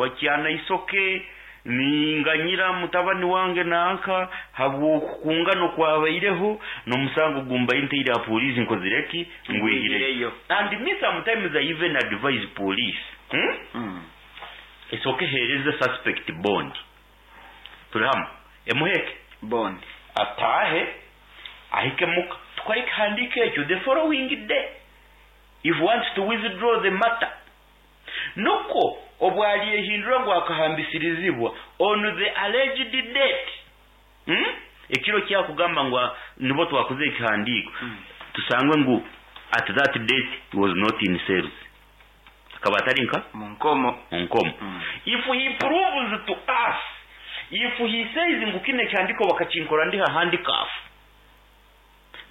Wakyana isoke ninganyira mutabani wange nanka habw'okukungana okwabaireho n'omusango gumbaire ntaire aha police nkozire ki? Ngwihireyo. And me sometimes I even advise police, Esooke eheereze suspect bond. Turi hamwe? Emuhe ki? Bond. Ataahe ahike muka tukore ekihandiiko ekyo the following day if wants to withdraw the matter. Nukwo obu aryehindura ngu akahambisirizibwa on the alleged date, ekiro eki arikugamba ngu nibwo twakozire ekihandiiko, tusangwe ngu at that date he was not in cells, akaba atari nka? Mu nkomo. Mu nkomo. If he proves to us, if he says ngu kinu ekihandiiko bakakinkora ndi ha handcuff,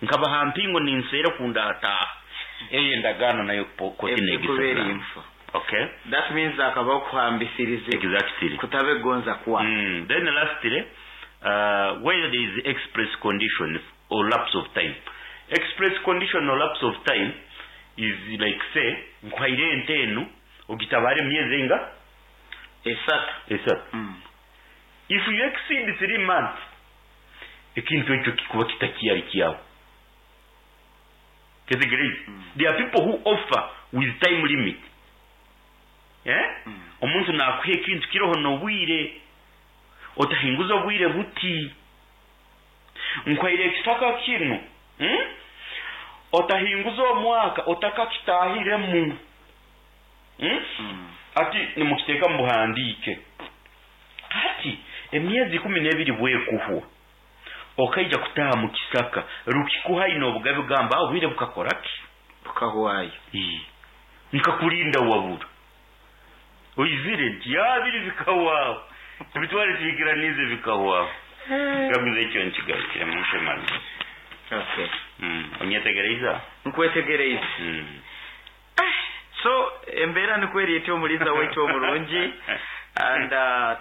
Nkaba aha mpingo ninseera oku ndaataaha. Eyo endagaano nayo kooti Ebyo kuba eri neegisazaamu. nfu. Okay. That means hakabaho okuhambisirizibwa Exactly. kutaba egonza kwawe. Then lastly, where there is express condition or lapse of time. Express condition or lapse of time is like say, nkuhaire ente enu ogitabaare emyezi einga? Esatu. Esatu. If you exceed 3 months, ekintu ekyo kikuba kitakyari kyawe. Kyetegereize? There are people who offer with time limit. Eh? Omuntu nakuha ekintu kiroho n'obwire, otahinguza obwire buti. Nkuhaire ekisaka kinu, Otahinguza omwaka otakakitahiremu. Ati nimukiteeka mu buhandiike. Hati emyezi 12 bwekuhwa, okaija kutaaha mu kisaka, rukikuha aine obugabe kugamba, obwire bukakora ki? Bukahwayo. Ii. Nkakurinda wabura. Oizire nti abiri bikahwaho. Emitwaro etwikiraniize bikahwaho. Nkaguza ekyo nkigarukiremu nshemarize. Okay. Onyetegereize aho? Nkwetegereize. So embeera nikwo eri eti omuliiza waitu omurungi and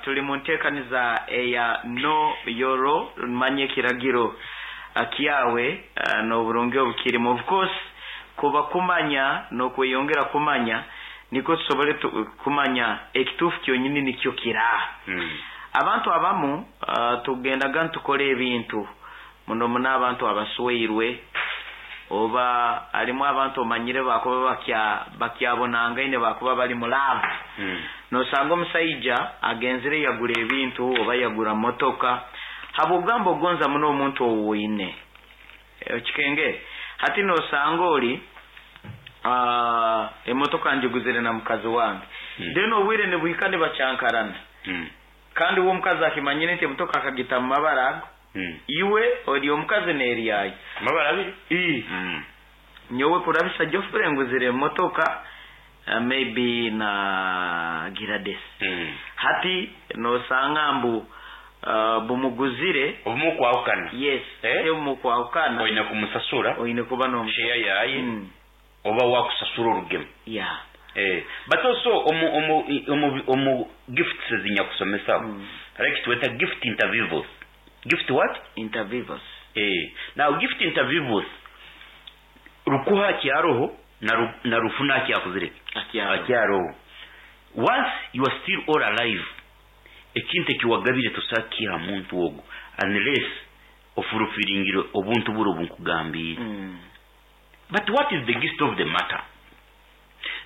turi mu nteekaniza eya Know Your Law, manya ekiragiro kyawe n'oburungi obukirimu. Of course kuba kumanya n'okweyongera kumanya nikwo tusobole kumanya ekituufu kyonyini nikyo kiraha. Abantu abamu tugendaga nitukora ebintu muno muno abantu abasweirwe oba harimu abantu omanyire bakuba bakyabonangaine bakuba bari mu love. Nosanga omusaija agenzire yagura ebintu oba yagura motoka habw'okugamba ogonza muno omuntu ou oine. Okikengere? Hati nosanga ori emotoka ngiguzire na mukazi wange. Then obwire nibuhika nibakyankarana. Kandi we omukazi akimanyire nti emotoka akagita mu mabara ago. Iwe ori omukazi n'eryayo. Amabara abiri? Ii. Nyowe kurabisa Geoffrey nguzire emotoka maybe na Gladys. Hati nosanga mbu bumuguzire. Obumwe okwahukana. Yes, obumwe okwahukana. Oine kumusasura. Oine kuba nomusasura. Share yaye. Oba wakusasura orugemu. Yeah. But also omu omu omu omu gifts ezinyakusomesaho hariho ekitweta gift inter vivos. Gift what? Inter vivos. Now gift inter vivos rukuha akyaroho na na rufuna akyakozire ki? Akyaroho. Akyaroho. Once you are still all alive, ekintu ekiwagabire tosobola kukiha muntu ogu unless ofulfillingire obuntu buri obu nkugambiire. But what is the gist of the matter?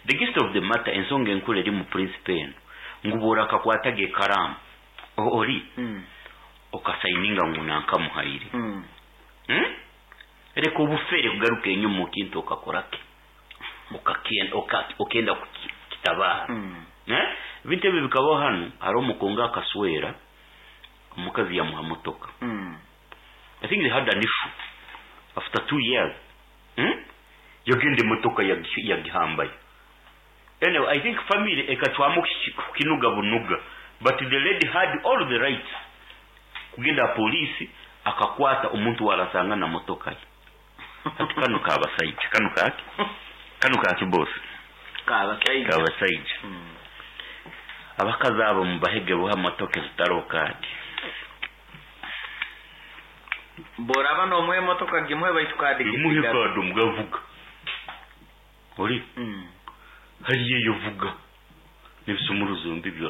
The gist of the matter, ensonga enkuru eri mu principle enu, ngu bw'orakakwataga ekaraamu ori okasayininga ngu nankamuhaire, Reka obufere kugaruka enyuma okintu okakora ki? Okenda kukitabaara. Ebintu ebi bikabaho hanu, hariho omukungu akaswera, omukazi yamuha motoka. I think they had an issue after 2 years, Yagenda emotoka yagihambayo. Anyway, I think family ekacwamu kukinuga bunuga, but the lady had all the rights kugenda aha poliisi akakwata omuntu warasanga na motoka ye. Hati kanu kabasaija, kanu kaki? Kanu kaki, boss? Kabasaija. Kabasaija. Abakazi abo mubahege buha motoka ezitariho kaadi. Bworaba nomuha emotoka gimuhe baitu kaadi Gimuhe. Gisigara. Kaadi omugavuga ori hariyo eyo vuga n'ebisumuruzo mbibyo.